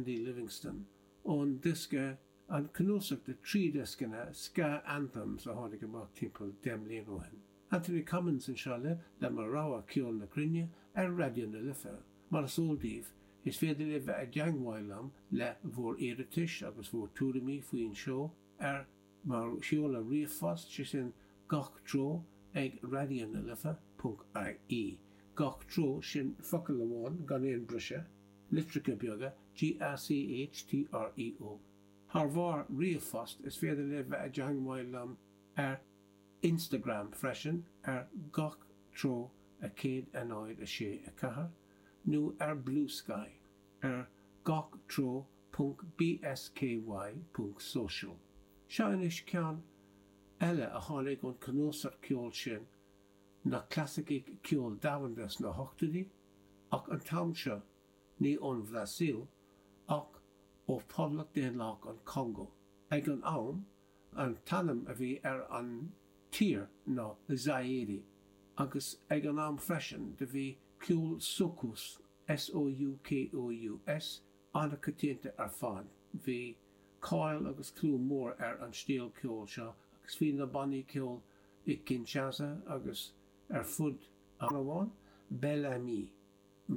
Andy Livingston, ón diosca, an cnuasach de thrí dhioscanna, Ska Anthems, a tháinig amach timpeall 10 mbliana ó shin. Anthony Cummins anseo libh le mo rogha ceol na cruinne ar Raidió na Life. Mar is eol daoibh, is féidir libh bheith i dteangmháil liom le bhur iarratais agus bhur tuairimí faoin seó ar mo sheoladh ríomhphost, sé sin gach treo ag raidionalife ponc ie. Gach treo, sin focal amháin gan aon briseadh. litreacha beaga, G-A-C-H-T-R-E-O. Thar bharr ríomhphost, is féidir libh bheith i dteangmháil liom ar Instagram freisin ar gach treo 1 0 6 4 nó ar Bluesky ar gach treo ponc bsky ponc social. Seo anois ceann eile a tháinig ón cnuasach ceoil sin, na clasaicigh ceoil domhanda sna hochtóidí, ach an t-am seo ní ón Bhrasaíl ach ó Phoblacht Daonlathach an Chongó. Ag an am, an t-ainm a bhí ar an tír ná Zaire, agus ag an am freisin do bhí ceol soukous, S-O-U-K-O-U-S, an-choitianta ar fad. Bhí cáil agus clú mór ar an stíl ceoil seo agus bhí na bannaí ceoil i Kinshasa agus ar fud an amháin, Bel Ami.